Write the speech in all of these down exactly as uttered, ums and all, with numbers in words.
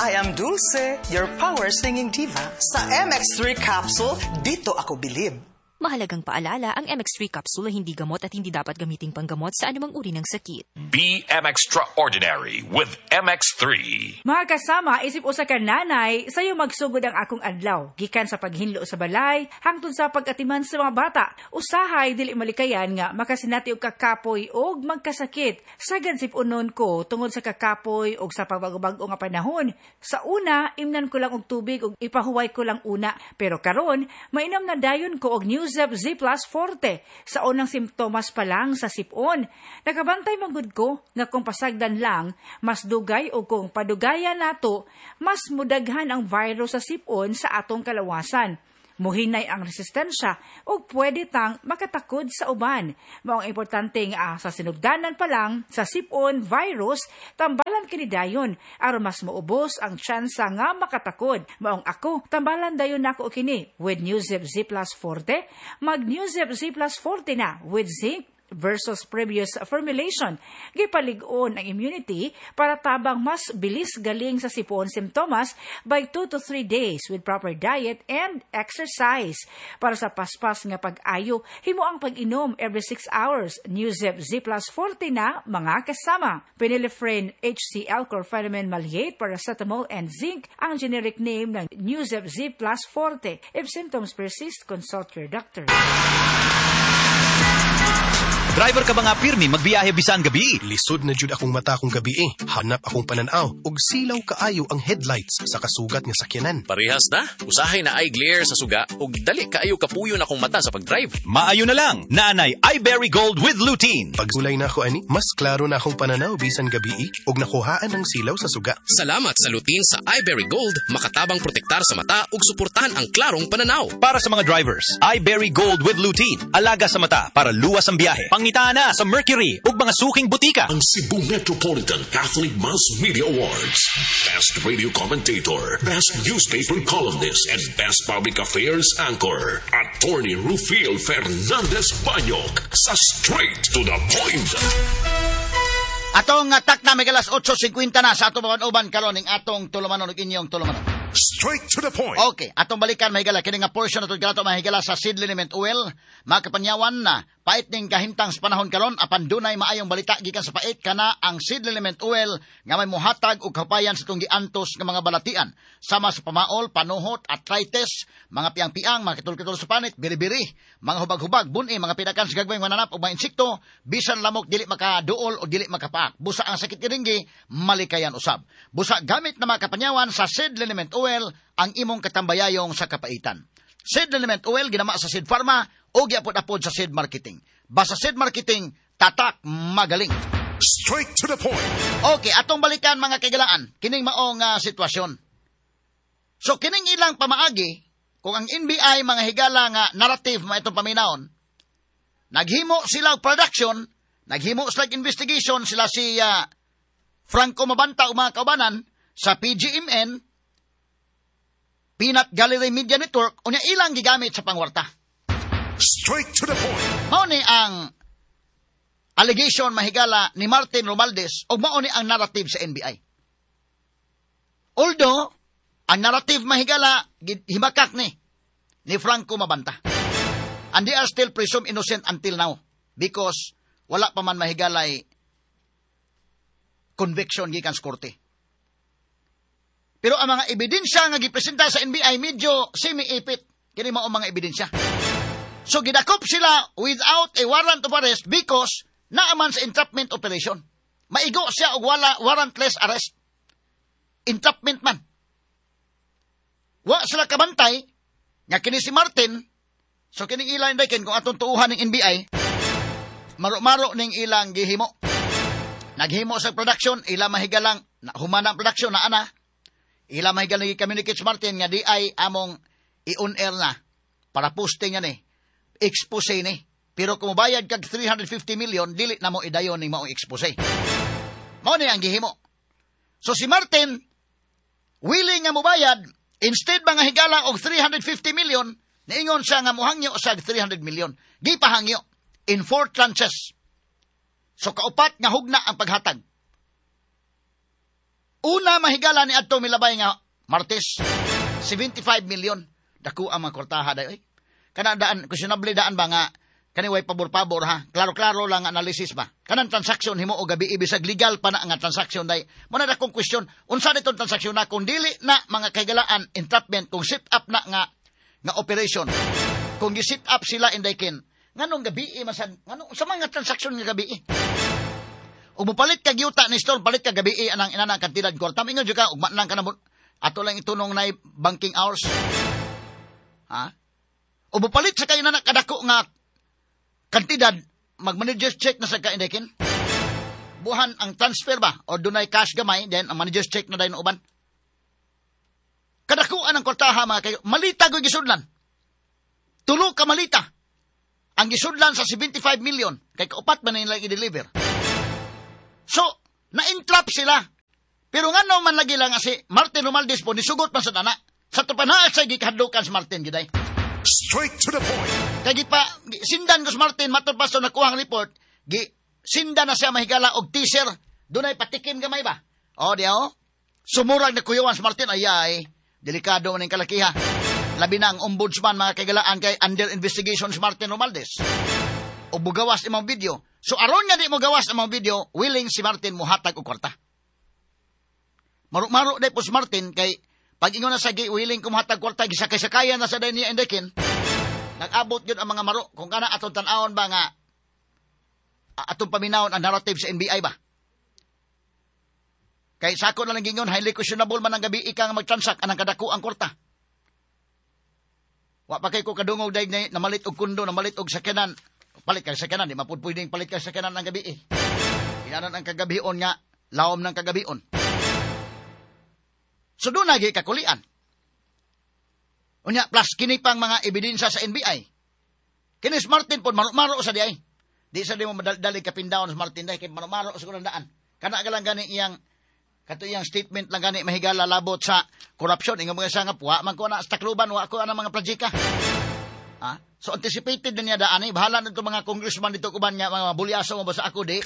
I am Dulce, your power singing diva. Sa M X three capsule, dito ako bilib. Mahalagang paalala, ang M X three capsule ay hindi gamot at hindi dapat gamiting panggamot sa anumang uri ng sakit. Be M Extraordinary with M X three. Mga kasama, isip usa ka nanay, sayo magsugod ang akong adlaw. Gikan sa paghinlo sa balay, hangtod sa pag-atiman sa mga bata. Usahay dili malikayan nga makasinati og kakapoy og magkasakit. Sagan sip-unon ko tungod sa kakapoy og sa pagbag-o nga panahon. Sa una, imnan ko lang og tubig og ipahuway ko lang una. Pero karon, mainom na dayon ko og Nuzep Z Plus Forte sa unang simptomas pa lang sa sipon. Nakabantay man gud ko nga kung pasagdan lang, mas dugay o kung padugayan nato, mas mudaghan ang virus sa sipon sa atong kalawasan. Muhinay ang resistensya ug pwede tang makatakod sa uban. Maong importante nga sa sinugdanan pa lang sa sipon virus, tambalan kini dayon aron mas maubos ang tsansa nga makatakod. Maong ako, tambalan dayon nako kini with Nuzep Z Plus Forte. Mag Nuzep Z Plus Forte na with zinc versus previous formulation. Gipalig-on ang immunity para tabang mas bilis galing sa sipon simptomas by two to three days with proper diet and exercise. Para sa paspas nga pag-ayo, himo ang pag-inom every six hours. Nuzep Z Plus Forte na, mga kasama. Phenylephrine H C L, chlorpheniramine maleate, paracetamol, and zinc ang generic name ng Nuzep Z Plus Forte. If symptoms persist, consult your doctor. Driver ka ba nga pirmi magbiyahe bisan gabi? Lisod na jud akong mata kung gabi eh. Hanap akong pananaw ug silaw kaayo ang headlights sa kasugat nga sakyanan. Parehas na. Usahay naay glare sa suga ug dali kaayo kapuyon akong mata sa pag-drive. Maayo na lang. Naanay iBerry Gold with lutein. Pagsulay na ako ani, mas klaro na akong pananaw bisan gabi eh, ug nakuhaan ang silaw sa suga. Salamat sa lutein sa iBerry Gold, makatabang protektar sa mata ug suportahan ang klarong pananaw. Para sa mga drivers, iBerry Gold with lutein. Alaga sa mata para luwas ang biyahe. Pangitaa na sa Mercury ug mga suking butika. Ang Cebu Metropolitan Catholic Mass Media Awards. Best Radio Commentator, Best Newspaper Columnist, and Best Public Affairs Anchor. Attorney Rufil Fernandez Banyok sa Straight to the Point. Atong uh, takna may alas otso singkwenta na sa atong uban karon ning atong tulumanon ug inyong tulumanon. Straight to the Point. Okay, atong balikan, mahigala, kini nga portion ato kanato, mahigala, sa seed liniment oil. Mga kapanyawan na pait ning kahimtang sa panahon karon, apan dunay maayong balita gikan sa pait, kana ang seed liniment oil nga may muhatag og kapayan sa itong giantos nga mga balatian sama sa pamaol, panuhot, arthritis, mga piang-piang, mga kitol-kitol sa panit, biri-biri, mga hubag-hubag, buni, mga pidakan sa gagmay mananap ug mga insekto, bisan lamok dili makaduol o dili makapaak. Busa ang sakit niini malikayan usab. Busa gamit na, mga kapanyawan, sa seed liniment oil ang imong katambayayong sa kapaitan. Seed liniment oil ginama sa Seed Pharma o giapod-apod sa Seed Marketing. Basta Seed Marketing, tatak magaling. Straight to the Point. Okay, atong balikan, mga kahigalaan, kining maong uh, sitwasyon. So kining ilang pamaagi, kung ang N B I, mga higala, nga narrative ma itong paminawon, naghimo sila og production, naghimo sila og investigation, sila si uh, Franco Mabanta ug mga kaubanan sa P G M N, Peanut Gallery Media Network, unya ilang gigamit sa pangwarta. Straight to the Point. Mao ni ang allegation, mahigala, ni Martin Romualdez o mao ni ang narrative sa N B I. Although, ang narrative, mahigala, himakak ni ni Franco Mabanta. And they are still presumed innocent until now because wala pa man, mahigalay, conviction gikan sa korte. Pero ang mga ebidensya nga gipresenta sa N B I medyo semi-ipit. Kini mao mga ebidensya. So gidakop sila without a warrant of arrest because naaman sa entrapment operation. Maigo siya og wala warrantless arrest. Entrapment man. Wa sila kabantay nga kini si Martin, so kining ilang daken kung atong tuuhan ng N B I, maro-maro ning ilang gihimo. Naghimo sa production, ila mahigalang na, humana ang production na ana. Ila mahigalang gi-communicate si Martin nga di ay among i-on air na para posting yan eh. Expose ni. Pero kung mobayad kag three hundred fifty million, dili na mo idayon ning maong expose. Mao ni ang gihimo. So si Martin, willing nga mobayad, instead mga higala og three hundred fifty million, niingon siya nga muhangyo sa three hundred million. Gipahangyo in four tranches. So kaupat nga hugna ang paghatag. Una mahigala ni adto milabay nga Martes, seventy-five million. Dako ang mga kwartaha day oy. Kana daan questionable daan ba nga kani way pabor-pabor ha. Klaro-klaro lang ang analysis ba. Kanang transaction himo og gabi bisag legal pa na nga transaction day. Muna na kong question, unsa nitong transaction na kung dili na mga kahigalaan entrapment, kung set up na nga nga operation. Kung gi-set up sila inday ken, nganong gabi masan nganong sa mga transaction nga gabi? Ug mopalit ka yuta ni store, palit ka gabi anang inana kantidad kwarta. Ingon jud ka ugma lang ka na ato lang itunong na banking hours. Ha? O mopalit sa kayo na kadako nga kantidad, mag-manager's check na sa ka inday ken. Buhan ang transfer ba o dunay cash gamay, then ang manager's check na dayon uban. Kadakuan ang kwartaha mga kayo. Malita goy gisudlan. Tulo ka malita. Ang gisudlan sa seventy-five million kay kaupat man nila i-deliver. So, na-entrap sila. Pero ngano man lagi lang si Martin Romualdez po nisugot man sa dana. Sa tupanaa sa gikahadlukan si Martin giday. Straight to the point. Kay gipa sindan ko si Martin matod pa sa nakuhang report, gi sindan na siya mahigala og teaser. Dunay patikim gamay ba? O di o. Sumurag na kuyawan si Martin ay ay delikado man ning kalakiha. Labi na ang ombudsman mga kaigalaan kay under investigation si Martin Romualdez. O bugawas imong video. So aron nga di mo gawas imong video, willing si Martin mohatag og kwarta. Maru-maro day po si Martin kay pag ingon na sa gi willing ko mohatag kwarta gisakay-sakayan na sa day niya indekin. Nag-abot gyud ang mga maro kung kana atong tan-awon ba nga atong paminawon ang narrative sa N B I ba. Kay sako na lang gingon highly questionable man ang gabi ika nga magtransact anang kadako ang kwarta. Wa pa kay ko kadungog day na namalit og kundo, namalit og sakyanan. Palit kay sakyanan, di mapud pwedeng palit kay sakyanan ang gabi eh. Inanan ang kagabion nga lawom ng kagabion. So doon nagi kakulian. Unya plus kini pang mga ebidensya sa N B I. Kini si Martin pod maro-maro sa diay. Di sa di mo madali kapindaon si Martin day kay maro-maro sa kunang daan. Kana ka lang gani iyang kato iyang statement lang gani mahigala labot sa korupsyon. Ingon mga siya nga puwa man ko na sa Tacloban, wa ko ana mga projeka. Ha? So anticipated na niya daan eh. Bahala na itong mga congressman dito kuban nga mga bulyaso mo ba sa ako di.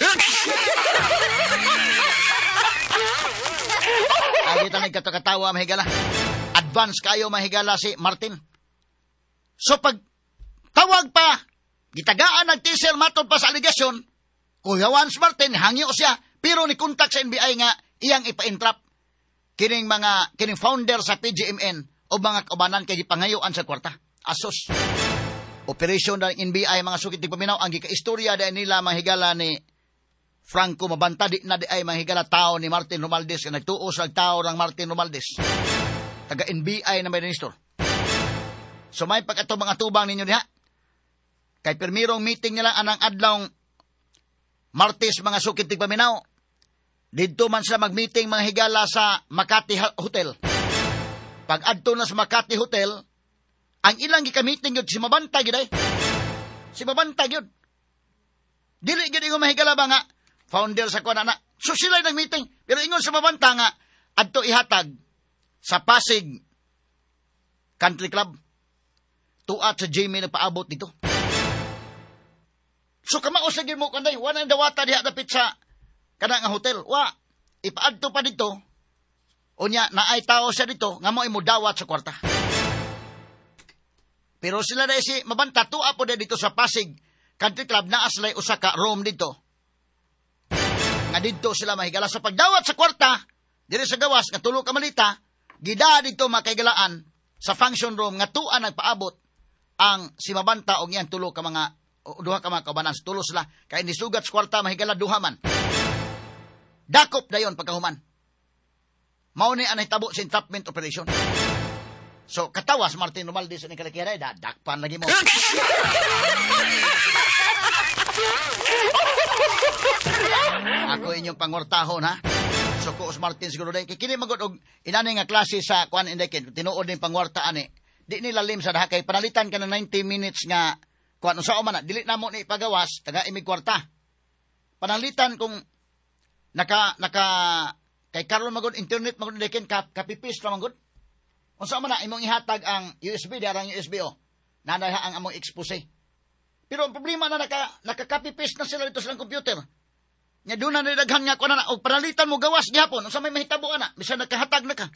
Ay kita nagkatakatawa mahigala. Advance kayo mahigala si Martin. So pag tawag pa, gitagaan ng teaser matod pa sa aligasyon, kuyawan si Martin, hangyo siya, pero ni kontak sa N B I nga iyang ipa-entrap kining mga kining founder sa P G M N o mga kaubanan kay gipangayuan sa kwarta. Asos. Operation ng N B I mga sukit di paminaw ang gikaistorya dahil nila mahigala ni Franco Mabanta di na di ay mahigala tao ni Martin Romualdez nga nagtuos ang tao ng Martin Romualdez. Taga N B I na may minister. So may pag ato mga tubang ninyo diha. Kay pirmirong meeting nila anang adlawng Martes mga sukit di paminaw. Didto man sila mag-meeting mga higala sa Makati Hotel. Pag adto na sa Makati Hotel, ang ilang gika-meeting yun, si Mabanta gyud ay. Si Mabanta gyud. Dili gyud ingon mahigala ba nga founder sa kuan na. So sila nag-meeting, pero ingon sa Mabanta nga adto ihatag sa Pasig Country Club. Tuat sa Jamie nagpaabot dito. So kamao sa gyud mo kanday, wala nang dawata diha dapit sa kana nga hotel. Wa ipaadto pa dito. Unya naay tao siya dito nga mo imudawat sa kwarta. Pero sila na si Mabanta tuwa po dito sa Pasig Country Club naa sila'y usa ka room dito. Nga dito sila mahigala sa pagdawat sa kwarta diri sa gawas nga tulo ka malita gida dito makaigalaan sa function room nga tuwa nagpaabot ang si Mabanta og iyang tulo ka mga duha ka mga kaubanan. Tulo sila kay nisugat sa kwarta mahigala duha man. Dakop dayon pagkahuman. Mao ni ang nahitabo sa entrapment operation. So, katawas Martin Romualdez ni kalakiray, dadakpan lagi mo. Ako inyong pangortahon, ha? So, ko Martin siguro day. Kini magod og inani nga klase sa kuan indekin, tinuod ning pangwarta ani. Di ni lalim sa daha kay panalitan ka ng ninety minutes nga kuan unsa man na, dili namo ni ipagawas, taga imig kwarta. Panalitan kung naka naka kay karon magod internet magod indekin kap kapipis ra magod. Unsa man na imong ihatag ang U S B, diara ang U S B o. Nanay ang among expose. Pero ang problema na naka naka-copy paste na sila dito sa computer. Nya doon na daghan nga kuan na og panalitan mo gawas gihapon unsa may mahitabo ana bisan nakahatag na ka.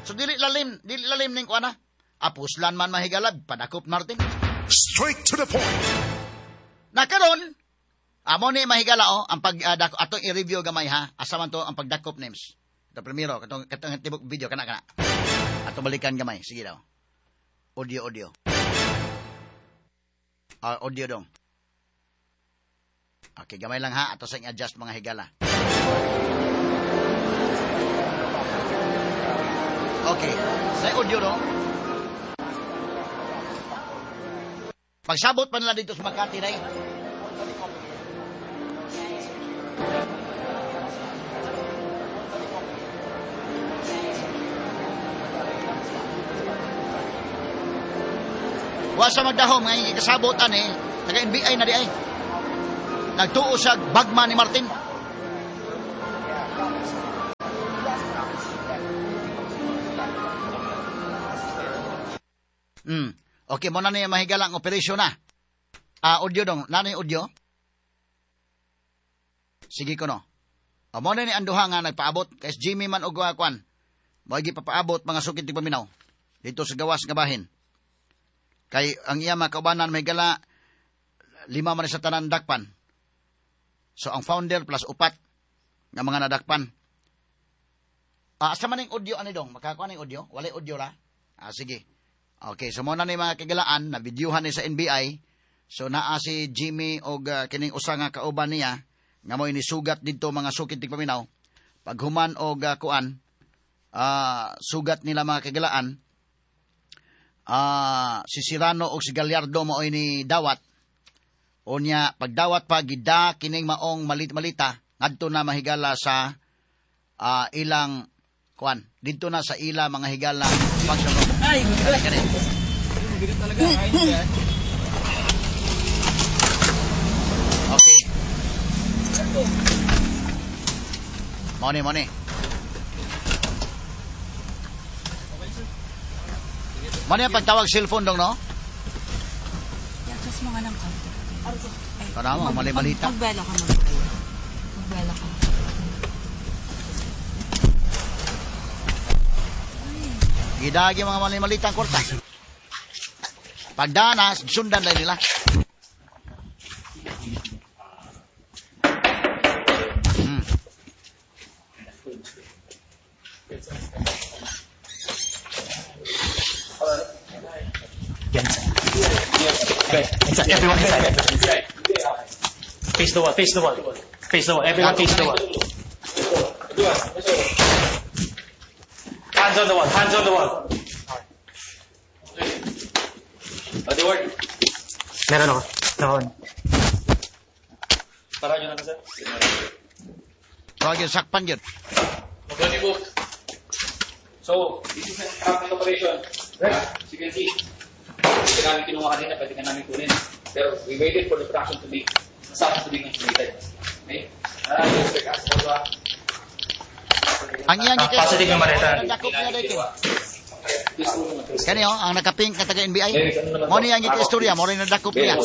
So dili lalim, dili lalim ning kuan na. Apuslan man mahigalab padakop Martin. Straight to the point. Nakaron amo ni mahigala oh ang pag uh, dako atong i-review gamay ha. Asa man to ang pagdakop names. Ito primero katong katong tibok video kana kana. Ato balikan gamay sige daw. Audio audio. Uh, audio dong. Okay, gamay lang ha. Ato sa i-adjust mga higala. Okay, sa audio dong. Pagsabot pa nila dito sa Makati day. Wa sa magdahom nga ikasabot ani, taga N B I na di ay. Nagtuo sa bagma ni Martin. Hmm. Okay, mo na niya mahigala ang operasyon na. Ah, audio dong. Na ni audio? Sige ko no. O, mo na ni anduha nga nagpaabot. Kay Jimmy man og kwan. Mo gipapaabot mga sukit tigpaminaw. Dito sa gawas nga bahin. Kay ang iya mga kaubanan mahigala lima man sa tanan dakpan. So ang founder plus upat nga mga nadakpan. Ah, asa man ning audio ani dong? Makakuha ning audio? Walay audio ra? Ah, sige. Okay, so muna ni mga kagalaan na videohan ni sa N B I. So naa si Jimmy og uh, kining usa nga kauban niya nga mo'y nisugat didto mga sukit tigpaminaw. Paghuman og uh, kuan, uh, sugat nila mga kagalaan. Ah, uh, si Serrano og si Gallardo maoy ni dawat. Unya pagdawat pa gida kining maong malit-malita ngadto na mahigala sa uh, ilang kuan didto na sa ila mga higala function room. Ay, kani. Okay. Money, money. Money ang pagtawag cellphone dong, no? Yakos mo nga ng konti. Para mo, mali-malita. Magbela ka, magbela. Magbela ka. Gidagi mga mali-malita ang kwarta. Pagdana, sundan lang nila. Hmm. Inside. Everyone inside. Face the wall. Face the wall. Face the wall. Everyone face the wall. Hands on the wall. Hands on the wall. Body work. Meron ako. Nakon. Para nyo na sir. Tawag yun, sakpan yun. Body book. So, this is an traffic operation. As you can see, pwede namin kinuha kanina, pwede ka namin kunin. Pero we waited for the production to be, nasapos to be consummated. Okay? Ah, Mister Castro, Ang iyang Ah, positive yung maleta. Kani oh, ang nakapink na taga N B I. Mo ni ang istorya, mo rin nadakop niya.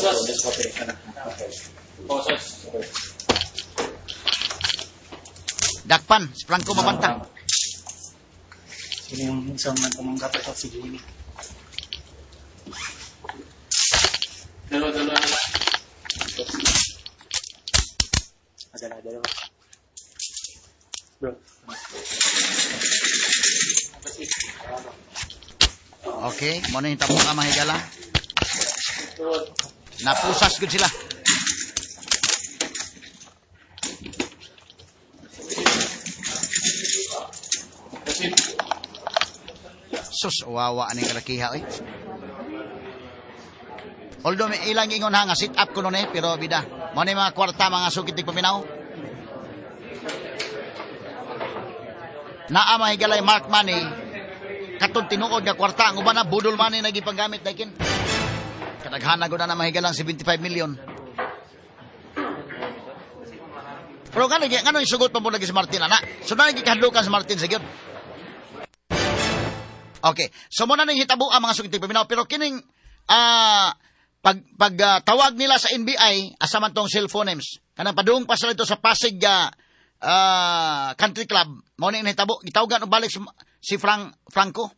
Dakpan, si Franco Mabanta. Sino yung isang tumanggap ito? Si Jimmy. Dalawa, dalawa. Dalawa, dalawa. Bro. Okay, mo na yung tapong ka mahigala. Napusas gud sila. Sus, wawa aning kalakiha oy. Although may ilang ingon ha nga sit up ko nun eh, pero bida. Mo na yung mga kwarta mga sukit di paminaw. Naa mahigalay mark money katong tinuod nga kwarta ang uban na budol money na gipanggamit daykin. Kadaghan na gud na mahigalang seventy-five million. Pero ngano ngano isugot pa mo lagi si Martin ana? So na gikahadlukan si Martin sa gyud. Okay. So mo na ning hitabo ang mga sukit paminaw pero kining ah uh, pag pag uh, tawag nila sa N B I asa man tong cellphone names. Kanang padung pa sila ito sa Pasig uh, uh, Country Club. Mao ni nahitabo. Gitawagan og balik si, si Frank, Franco.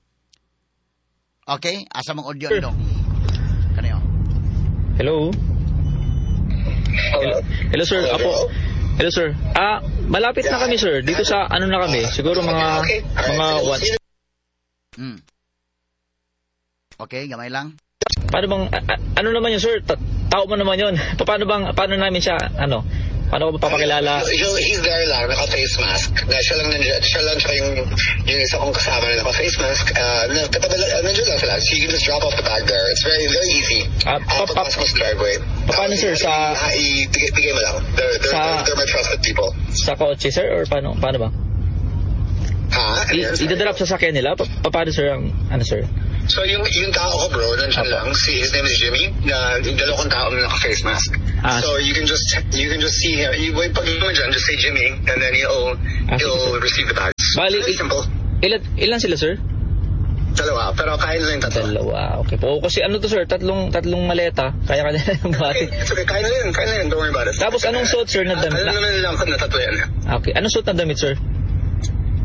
Okay, asa mong audio nito? Kaniyo. Hello? Hello, Hello sir. Apo. Hello sir. Ah, malapit na kami sir. Dito sa ano na kami? Siguro mga mga what? Hmm. Okay, gamay lang. Paano bang a- a- ano naman yun sir? Ta- tao mo naman yun. Paano bang paano namin siya ano? Paano ko ba papakilala? He'll, he's there lang, naka-face mask. Na siya lang nandiyan, siya lang siya yung, yung isa kong kasama na naka-face mask. Uh, na, katabi lang, nandiyan lang sila. So you can just drop off the bag there. It's very, very easy. Ah, Uh, pa- pa- pagpasok mo sa driveway. paano sir sa Ah, ibigay, bigay mo lang. They're, they're, Sa- they're, they're my trusted people. sa kotse sir or paano paano ba? Ha? I- idadrop sa sakyan nila? Pa- paano sir ang ano sir? So yung yung tao ko bro, nandiyan lang. Si, his name is Jimmy. Na yung dalawa kong tao na naka-face mask. Ah, so you can just you can just see him. You wait pag mo dyan, just say Jimmy and then he'll Ah, sige, he'll sir. receive the bags. Bali, Very simple. Ilan ilan sila sir? Dalawa, pero kaya nila yung tatlo. Dalawa. Okay po. Kasi ano to sir, tatlong tatlong maleta. Kaya kanila yung buhatin. It's okay, kaya nila yun, kaya nila yun. Don't worry about it. Tapos anong suot sir na damit? Alam naman nila na tatlo yan. Okay. Anong suot na damit sir?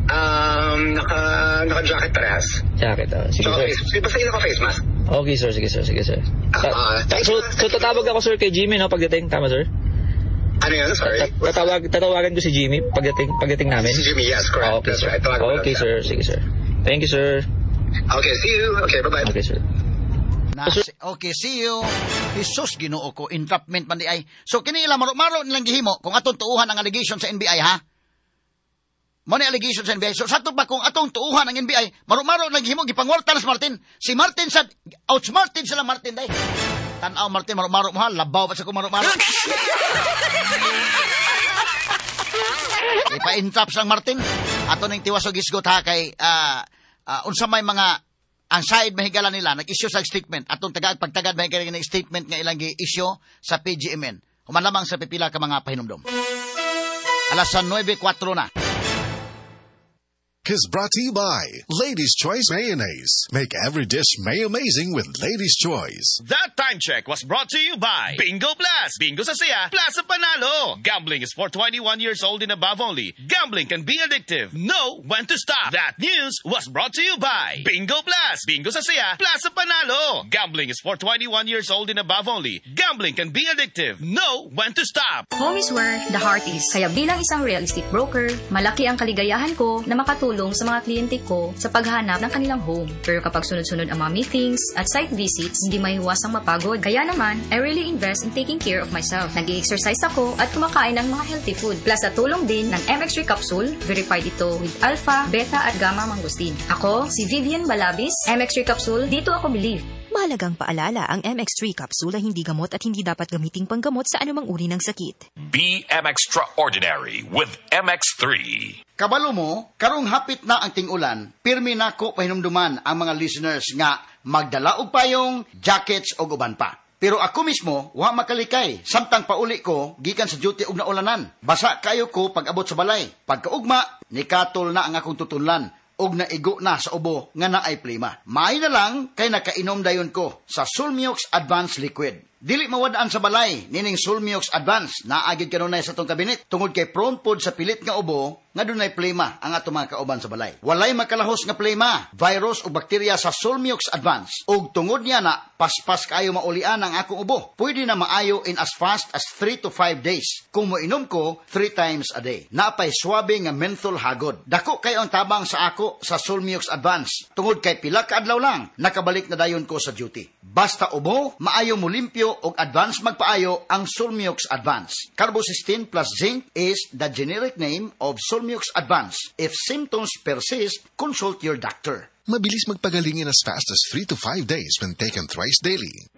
Um, naka, naka-jacket parehas. Jacket. Ah. Sige Tsaka sir. face, basta yung naka-face mask. Okay sir, sige sir, sige sir. Ta- Ah, ta- so, so tatawag ako sir kay Jimmy no pagdating, tama sir? Ano yun? Sorry. Ta- tatawag tatawagan ko si Jimmy pagdating pagdating namin. Si Jimmy, yes, correct. Ah, okay, That's sir. right. Tawagan mo lang Okay siya. sir, sige sir. Thank you sir. Okay, see you. Okay, bye-bye. Okay sir. Na, okay, see you. Jesus, Ginoo ko, entrapment man di ay. So kini ila maro-maro nilang gihimo kung atong tuuhan ang allegation sa N B I ha. Mo ni allegation sa N B I. So sakto pa kung atong tuuhan ang N B I, maro-maro nilang gihimo gipangwarta na si Martin. Si Martin sa outsmarted sila Martin day. Tan-aw Martin, maro-maro mo ha, labaw pa sa ko maro-maro. Ipa-entrap sang Martin. Ato ning tiwas og hisgot ha kay ah, ah, unsa may mga ang side mahigala nila nag-issue sa statement atong tagaag pagtagad mahigala ng statement nga ilang gi-issue sa P G M N. Human lamang sa pipila ka mga pahinumdom. Alas nuwebe kuwatro na. Is brought to you by Lady's Choice Mayonnaise. Make every dish may amazing with Lady's Choice. That time check was brought to you by Bingo Plus. Bingo sa saya, plus sa panalo. Gambling is for twenty-one years old and above only. Gambling can be addictive. Know when to stop. That news was brought to you by Bingo Plus. Bingo sa saya, plus sa panalo. Gambling is for twenty-one years old and above only. Gambling can be addictive. Know when to stop. Home is where the heart is. Kaya bilang isang real estate broker, malaki ang kaligayahan ko na makatulong sa mga kliyente ko sa paghanap ng kanilang home. Pero kapag sunod-sunod ang mga meetings at site visits, hindi maiwasang mapagod. Kaya naman, I really invest in taking care of myself. Nag-exercise ako at kumakain ng mga healthy food. Plus sa tulong din ng M X three capsule, verified ito with alpha, beta at gamma mangosteen. Ako, si Vivian Balabis, M X three capsule, dito ako believe. Mahalagang paalala, ang M X three capsule ay hindi gamot at hindi dapat gamiting panggamot sa anumang uri ng sakit. Be M Extraordinary with M X three. Kabalo mo, karong hapit na ang ting-ulan, pirmi nako pahinumduman ang mga listeners nga magdala og payong, jackets og uban pa. Pero ako mismo, wa makalikay. Samtang pauli ko, gikan sa duty og naulanan. Basa kayo ko pag abot sa balay. Pagkaugma, nikatol na ang akong tutunlan og naigo na sa ubo nga naay plima. Maayo na lang kay nakainom dayon ko sa Sulmiox Advanced Liquid. Dili mawadaan sa balay nining Sulmiox Advance naa gyud kanunay sa atong kabinet tungod kay prone pod sa pilit nga ubo nga dunay plema ang atong mga kauban sa balay. Walay makalahos nga plema, virus o bakterya sa Sulmiox Advance. Ug tungod niya na paspas kaayo maulian ang akong ubo. Pwede na maayo in as fast as three to five days kung moinom ko three times a day. Napay swabe nga menthol hagod. Dako kayo ang tabang sa ako sa Sulmiox Advance. Tungod kay pila ka adlaw lang nakabalik na dayon ko sa duty. Basta ubo, maayo mo limpyo og advance magpaayo ang Sulmiox Advance. Carbocysteine plus zinc is the generic name of Sulmiox Advance. If symptoms persist, consult your doctor. Mabilis magpagaling in as fast as three to five days when taken thrice daily.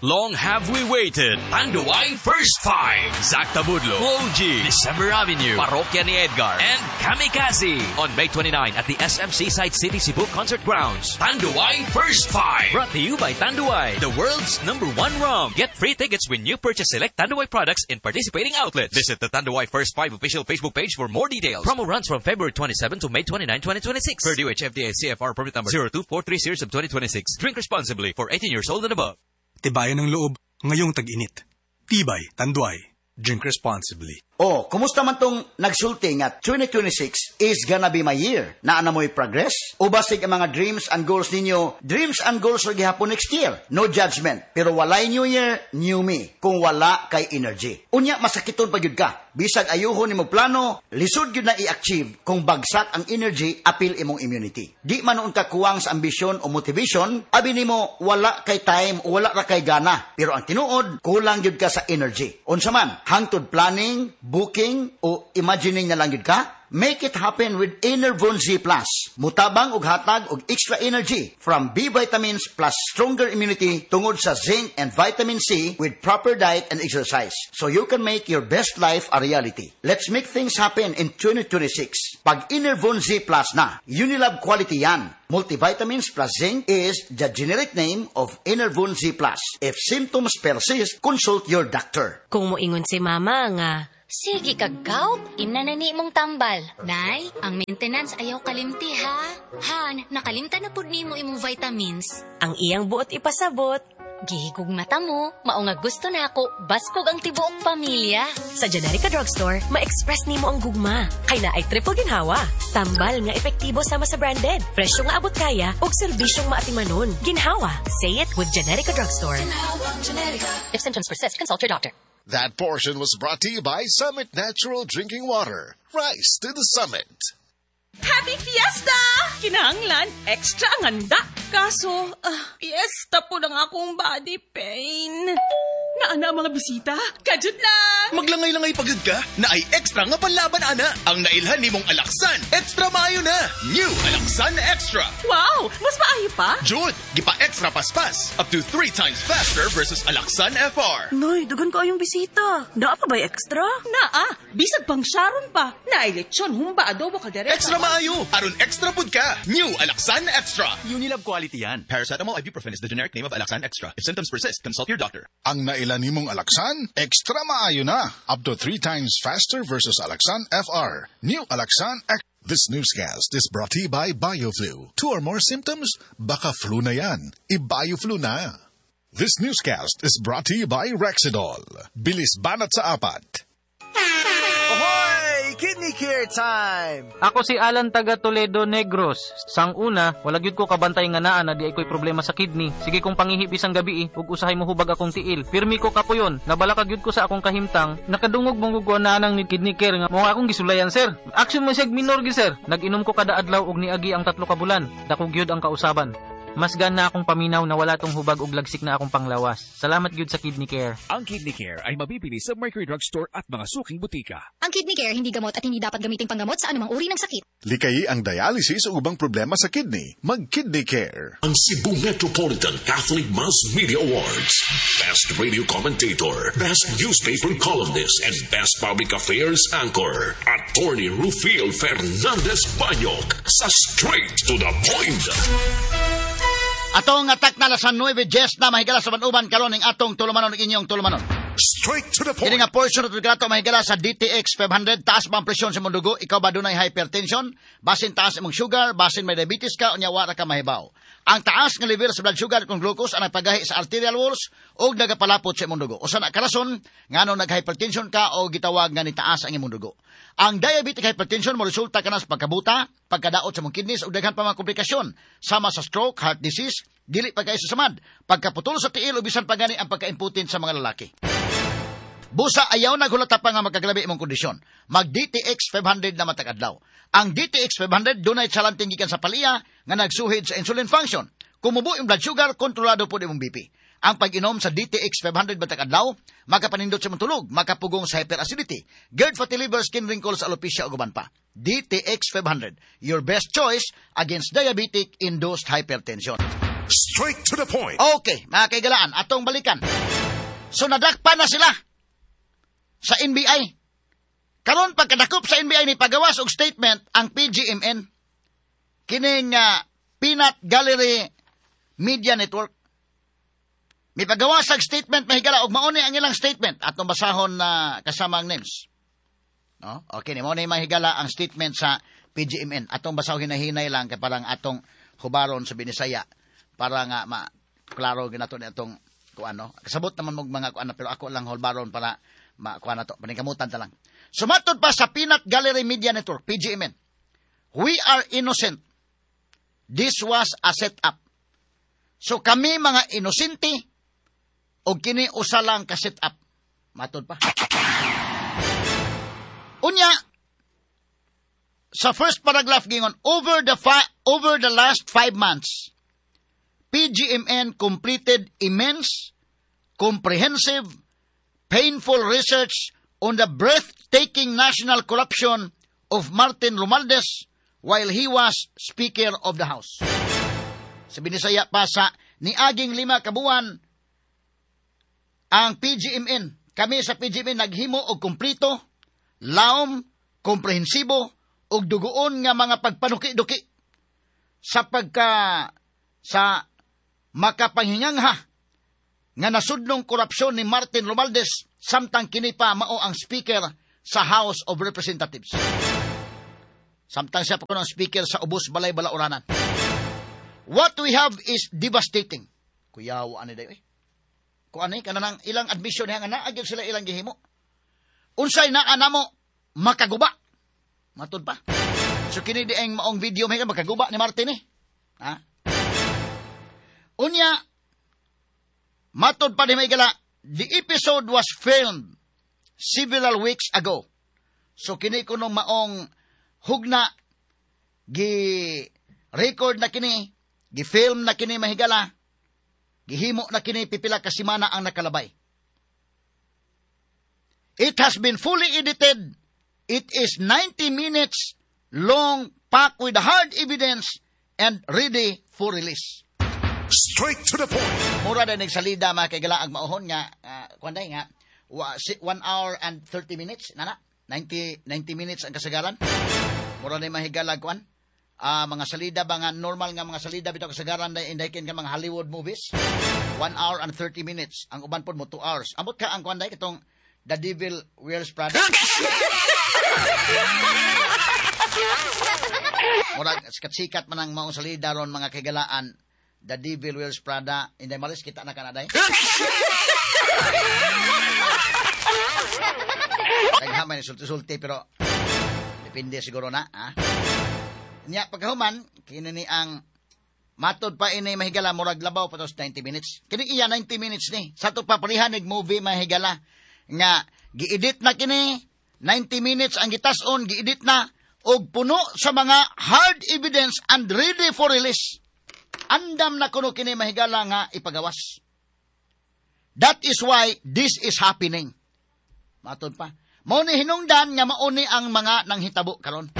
Long have we waited. Tanduay First Five. Zack Tabudlo, Flo G, December Avenue, Parokya ni Edgar, and Kamikazee on May twenty-nine at the S M Seaside City Cebu Concert Grounds. Tanduay First Five. Brought to you by Tanduay, the world's number one rum. Get free tickets when you purchase select Tanduay products in participating outlets. Visit the Tanduay First Five official Facebook page for more details. Promo runs from February twenty-seven to May twenty-nine, twenty twenty-six. Per D O H F D A C F R permit number zero two four three series of twenty twenty-six. Drink responsibly for eighteen years old and above. Tibayan ng loob ngayong tag-init. Tibay, Tanduay. Drink responsibly. Oh, kumusta man tong nagsulti nga twenty twenty-six is gonna be my year? Naa na mo'y progress? O basig ang mga dreams and goals ninyo, dreams and goals ra gihapon next year? No judgment, pero walay new year, new me, kung wala kay energy. Unya masakiton pa gyud ka. Bisag ayuhon nimo plano, lisod gyud na i-achieve kung bagsak ang energy apil imong immunity. Di man nuon ka kuwang sa ambisyon o motivation, abi nimo wala kay time o wala ra kay gana. Pero ang tinuod, kulang gyud ka sa energy. Unsa man, hangtod planning, booking o imagining na lang gyud ka? Make it happen with Enervon Z Plus. Mutabang og hatag og extra energy from B vitamins plus stronger immunity tungod sa zinc and vitamin C with proper diet and exercise, so you can make your best life a reality. Let's make things happen in twenty twenty-six. Pag Enervon Z Plus na, Unilab quality yan. Multivitamins plus zinc is the generic name of Enervon Z Plus. If symptoms persist, consult your doctor. Kung moingon si mama nga, "Sige kag gout, imna na ni imong tambal." "Nay, ang maintenance ayaw kalimti ha." "Han, nakalimtan na pud nimo imong vitamins." Ang iyang buot ipasabot, "Gihigugmata mo, mao nga gusto nako baskog ang tibuok pamilya." Sa Generika Drugstore, ma-express nimo ang gugma. Kay naay triple ginhawa. Tambal nga epektibo sama sa branded. Presyo nga abot kaya ug serbisyong maatimanon. Ginhawa. Say it with Generika Drugstore. If symptoms persist, consult your doctor. That portion was brought to you by Summit Natural Drinking Water. Rise to the summit. Happy Fiesta! Kinahanglan, extra ang handa. Kaso, ah, fiesta po lang akong body pain. Naa na ang mga bisita? Kadyot lang! Maglangay-langay pagod ka naay extra nga panlaban ana. Ang nailhan nimong Alaxan, extra maayo na. New Alaxan Extra. Wow! Mas maayo pa? Jud, gipa-extra paspas. Up to three times faster versus Alaxan F R. Nay, daghan kaayong bisita. Naa pa ba'y extra? Naa, bisag pang Sharon pa. Naay lechon, humba, adobo, kaldereta. Extra maayo. Aron extra pud ka. New Alaxan Extra. Unilab quality yan. Paracetamol ibuprofen is the generic name of Alaxan Extra. If symptoms persist, consult your doctor. Ang naila nimong Alaxan, extra maayo na. Up to three times faster versus Alaxan F R. New Alaxan X. This newscast is brought to you by BioFlu. Two or more symptoms? Baka flu na yan. I-BioFlu na. This newscast is brought to you by Rexidol. Bilis banat sa apat. Ahoy! Kidney Care time! Ako si Alan taga Toledo, Negros. Sang una, wala gyud ko kabantay nga naa na diay ko'y problema sa kidney. Sige kong pangihi bisang gabi eh, ug usahay mo hubag akong tiil. Pirmi ko kapuyon, nabalaka gyud ko sa akong kahimtang. Nakadungog mong ko na nang ni Kidney Care nga mo akong gisulayan, sir. Action mo siya minor gi, sir. Nag-inom ko kada adlaw ug niagi ang tatlo ka bulan. Dako gyud ang kausaban. Mas gana akong paminaw na wala tong hubag ug lagsik na akong panglawas. Salamat gyud sa Kidney Care. Ang Kidney Care ay mabibili sa Mercury Drug Store at mga suking butika. Ang Kidney Care hindi gamot at hindi dapat gamiting panggamot sa anumang uri ng sakit. Likayi ang dialysis o ubang problema sa kidney. Mag-Kidney Care. Ang Cebu Metropolitan Catholic Mass Media Awards. Best Radio Commentator, Best Newspaper Columnist, and Best Public Affairs Anchor. Attorney Rufil Fernandez Banyok sa Straight to the Point. Atong atak na sa nuwebe diyes na mahigala sa uban karon ning atong tulumanon ug inyong tulumanon. Straight to the point. Kini nga portion na nato mahigala sa D T X five hundred. Taas ba ang presyon sa imong dugo? Ikaw ba dunay hypertension? Basin taas imong sugar, basin may diabetes ka, unya wara ka mahibaw. Ang taas nga level sa blood sugar kung glucose ang nagpagahi sa arterial walls ug nagapalapot sa imong dugo. Usa na karason ngano nag-hypertension ka o gitawag nga nitaas ang imong dugo. Ang diabetic hypertension mo resulta kana sa pagkabuta, pagkadaot sa imong kidneys ug daghan pa mga komplikasyon sama sa stroke, heart disease, dili pa kaayo sa samad, pagkaputol sa tiil o bisan pa gani ang pagkaimputin sa mga lalaki. Busa ayaw na hulata pa nga magkagrabe imong kondisyon. Mag D T X five hundred na matag adlaw. Ang D T X five hundred dunay tsalanting gikan sa paliya nga nagsuhid sa insulin function. Kumubo yung blood sugar, kontrolado po imong B P. Ang pag-inom sa D T X five hundred matag adlaw, makapanindot sa imong tulog, makapugong sa hyperacidity, GERD, fatty liver, skin wrinkles, alopecia ug uban pa. D T X five hundred, your best choice against diabetic induced hypertension. Straight to the point. Okay, mga kaigalaan, atong balikan. So nadakpan na sila sa N B I. Karon pagkadakop sa N B I, ni pagawas og statement ang P G M N. Kining uh, Peanut Gallery Media Network. May pagawas og statement, mahigala, og mao ni ang ilang statement atong basahon na kasama ang names. No? Okay, ni mao ni, mahigala, ang statement sa P G M N. Atong basahon hinahinay lang kay parang atong hubaron sa Binisaya para nga ma klaro ginato ni atong kuano. Kasabot naman mo mga kuano, pero ako lang hubaron para Makuha na to. Paningkamutan ta lang. Sumatod pa sa Peanut Gallery Media Network, P G M N. We are innocent. This was a setup. So kami mga inosente og kini usa lang ka setup. Matod pa. Unya, sa first paragraph gingon, over the fi- over the last five months, P G M N completed immense, comprehensive, painful research on the breathtaking national corruption of Martin Romualdez while he was Speaker of the House. Sa binisaya pa sa niaging lima kabuan ang P G M N. Kami sa P G M N naghimo og kumplito, laom, komprehensibo ug dugoon nga mga pagpanuki-duki sa pagka sa makapanghingangha nga nasudnong korupsyon ni Martin Romualdez samtang kini pa mao ang speaker sa House of Representatives. Samtang siya pa kuno ang speaker sa Ubos Balay Balauranan. What we have is devastating. Kuyaw ani dayo eh. Kuan ni kanang ilang admission niya nga naa gyud sila ilang gihimo. Unsay naa namo makaguba. Matud pa. So kini dieng maong video may makaguba ni Martin eh. Ha? Unya matod pa ni maigala, the episode was filmed several weeks ago. So kini kuno maong hugna gi record na kini, gi film na kini mahigala, gihimo na kini pipila ka semana ang nakalabay. It has been fully edited. It is ninety minutes long, packed with hard evidence and ready for release. Straight to the point. Mura din nagsalida mga kaigala ang mauhon nga, uh, kuanday nga, one hour and thirty minutes, nana, ninety, ninety minutes ang kasagaran. Mura din mahigala kuan. Uh, mga salida ba nga normal nga mga salida bitaw kasagaran na indaykin ka mga Hollywood movies. one hour and thirty minutes. Ang uban pod mo two hours. Amot ka ang kuanday katong The Devil Wears Prada. Murag sikat-sikat man ang maong salida ron mga kaigalaan. The Devil Wears Prada. Inday malis kita na kanaday. Naghamay ni sulti-sulti pero depende siguro na. Ha? Nya pagkahuman kini ni ang matod pa ini mahigala murag labaw pa tos ninety minutes. Kini iya ninety minutes ni. Sa to pa parehan nig movie mahigala nga giedit na kini ninety minutes ang gitas-on, giedit na og puno sa mga hard evidence and ready for release. Andam na kuno kini mahigala nga ipagawas. That is why this is happening. Matod pa. Mao ni hinungdan nga mao ni ang mga nanghitabo karon.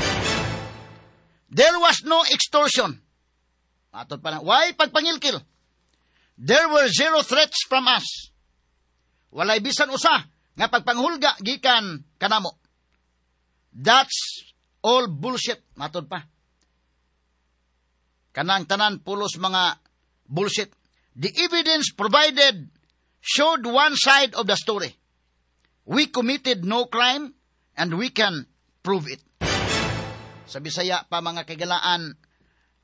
There was no extortion. Matod pa na. Why pagpangilkil? There were zero threats from us. Walay bisan usa nga pagpanghulga gikan kanamo. That's all bullshit. Matod pa. Kanang tanan pulos mga bullshit. The evidence provided showed one side of the story. We committed no crime and we can prove it. Sa Bisaya pa mga kaigalaan,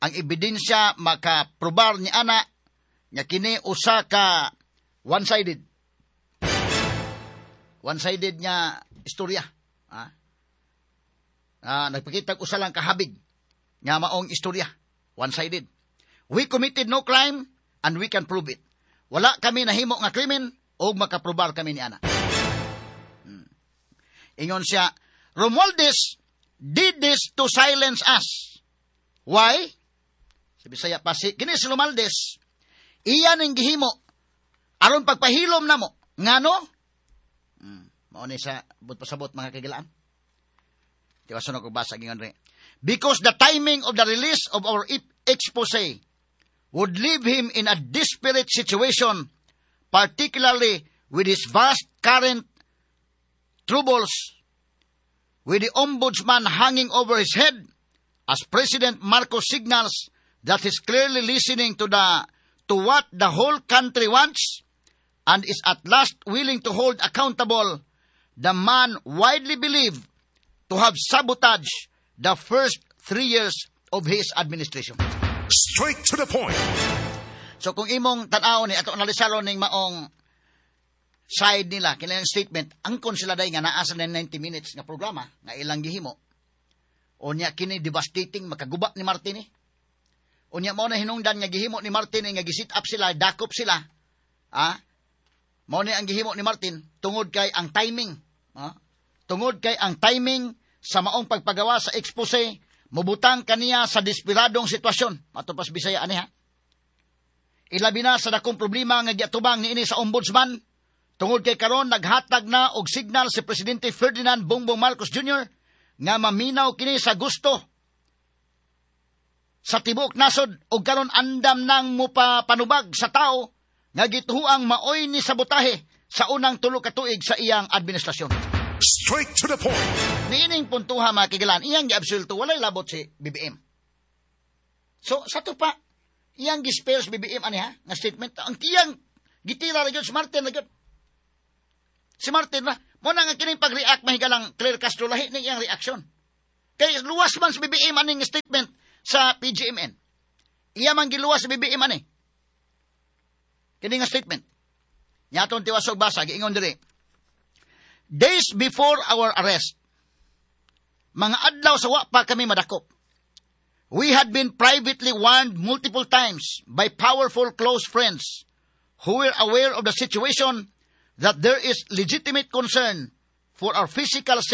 ang ebidensya makaprobar ni ana nga kini usa ka one-sided. One-sided nga istorya. Ah? Ah, nagpakita usa lang kahabig nga maong istorya. One-sided. We committed no crime and we can prove it. Wala kami nahimo nga krimen o makaprobar kami ni ana. Hmm. Ingon siya, Romualdez did this to silence us. Why? Sa Bisaya pa si kini si Romualdez, iya ning gihimo aron pagpahilom namo. Ngano? Hmm. Mao ni sa but pasabot mga kagilaan. Tiwason ako basa gingon re. Because the timing of the release of our expose would leave him in a desperate situation, particularly with his vast current troubles, with the ombudsman hanging over his head, as President Marcos signals that he's clearly listening to the to what the whole country wants and is at last willing to hold accountable the man widely believed to have sabotaged the first three years of his administration. Straight to the point. So kung imong tan-aw ni ato analisaro ning maong side nila, kini statement, angkon sila day nga naa sa ninety Minutes nga programa nga ilang gihimo. Unya kini devastating, makaguba ni Martin eh. Unya mao na hinungdan nga gihimo ni Martin eh, nga gi-set up sila, dakop sila. Ah? Mao ni ang gihimo ni Martin tungod kay ang timing, ah? Tungod kay ang timing sa maong pagpagawa sa expose mubutang kaniya sa desperadong sitwasyon. Mato pas Bisaya ani ha. Ilabi na sa dakong problema nga giatubang niini sa Ombudsman tungod kay karon naghatag na og signal si Presidente Ferdinand Bongbong Marcos Junior nga maminaw kini sa gusto sa tibuok nasod og karon andam nang mupapanubag sa tao nga gituhuang maoy ni sabotahe sa unang tulo ka tuig sa iyang administrasyon. Straight to the point. Niining puntuha, mga kigalan, iyang giabsulto, walay labot si B B M. So, sa to pa, iyang gi-spare si B B M ani ha, nga statement, ang iyang gitira ra gyud si Martin ra gyud. Si Martin ra, mo na nga kining pag-react, mahigalang Claire Castro, lahi ni iyang reaksyon. Kay luwas man si B B M aning statement sa P G M N. Iya man giluwas si B B M ani. Kini nga statement. Nyaton tiwasog basa, giingon diri. "Days before our arrest," mga adlaw sa wa pa kami madakop, "we had been privately warned multiple times by powerful close friends who were aware of the situation that there is legitimate concern for our physical safety."